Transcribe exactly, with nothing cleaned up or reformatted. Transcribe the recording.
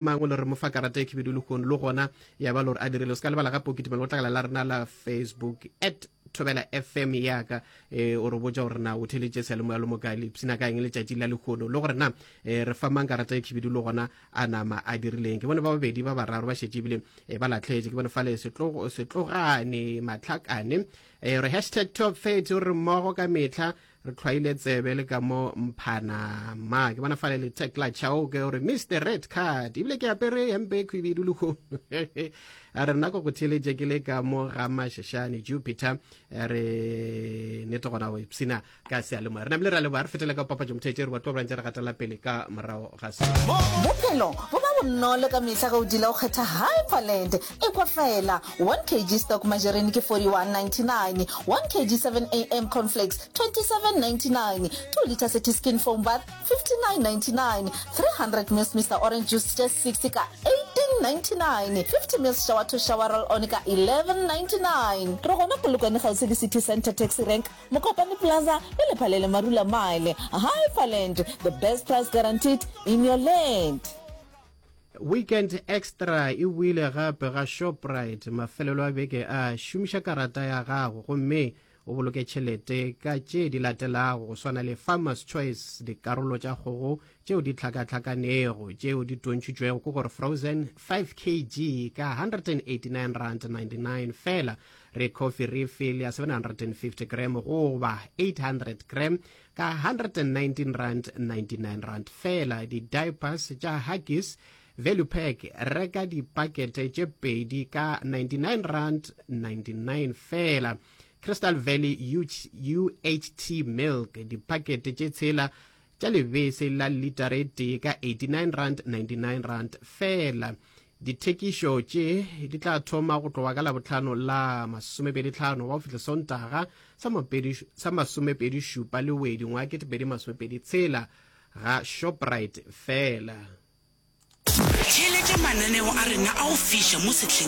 Mang o le re mo fa karata e khibidu lehono le gona ya ba le gore a dirile. O se ka lebala gape o kitimela go tlakala la rena la Facebook at Thobela F M yaka, e o re botša gore na o theletše seyalemoya le mokae, le ipshina ka eng letšatši la lehono, le gore na e, re fa mang karata e khibidu le gona a nama a dirileng. Ke bone ba babedi, ba bararo ba šetše ebile e, ba latlhetše. Ke bone fale Setlogane Matlhakane e re hashtag top thirty, o re mmogo ka mehla, re tlhwaile tsebe le ka mo Mphana ma. Ke bona fale le Tekla Chao ke gore Mister Red Card, ebile ke apere hempe e khwibidu lehono, a re nako go theletše ke le ka mo ga Mashashane Jupiter. Re nete gona go ipsina ka seyalemoya, re namile, re a leboga. Re fetele ka papatšo motheetše, re batlo brantse re gatela pele ka morago ga se. Bophelo bo ba bonolo ka mehla ge o dula o kgetha Hyperland. Ekwa fela, one kilogram stock margarine ke forty-one ninety-nine, one kilogram seven A M cornflakes twenty-seven ninety-nine, two litre City Skin foam bath fifty-nine ninety-nine, three hundred mils Mister Orange juice just sixty ka eighteen ninety-nine, fifty mils shower to shower roll on ka eleven ninety-nine. Re gona Polokwane kgauswi le City Center Taxi Rank, Mokopane Plaza le Lephalele Marula Mile. Hyperland, the best price guaranteed in your land. Weekend Extra e boile gape ga Shoprite mafelelo a beke a. Šomiša karata ya gago gomme o boloke tšhelete ka tše di latelago, go swana le Farmers Choice dikarolo tša kgogo tšeo di tlhakatlhakanego tšeo di tontšhitšwego, ke gore frozen, five kilogram ka one hundred eighty-nine rand ninety-nine fela, re coffee refill ya seven hundred fifty gram goba eight hundred gram ka one hundred nineteen rand ninety-nine rand fela, di-diapers tša Huggies Value Pack, reka dipakete tše pedi ka ninety-nine rand ninety-nine fela, Crystal Valley U H T milk dipakete tše tshela tša lebese la litara e tee ka eighty-nine rand ninety-nine rand fela. Dithekišo tše di tla thoma go tloga ka Labohlano la masomepedi tlhano wa go fihla Sontaga sa masomepedi šupa Lewedi ngwaga ketepedi masomepedi tshela ga Shoprite fela. Theeletša mananeo a rena a go fiša mo sehleng.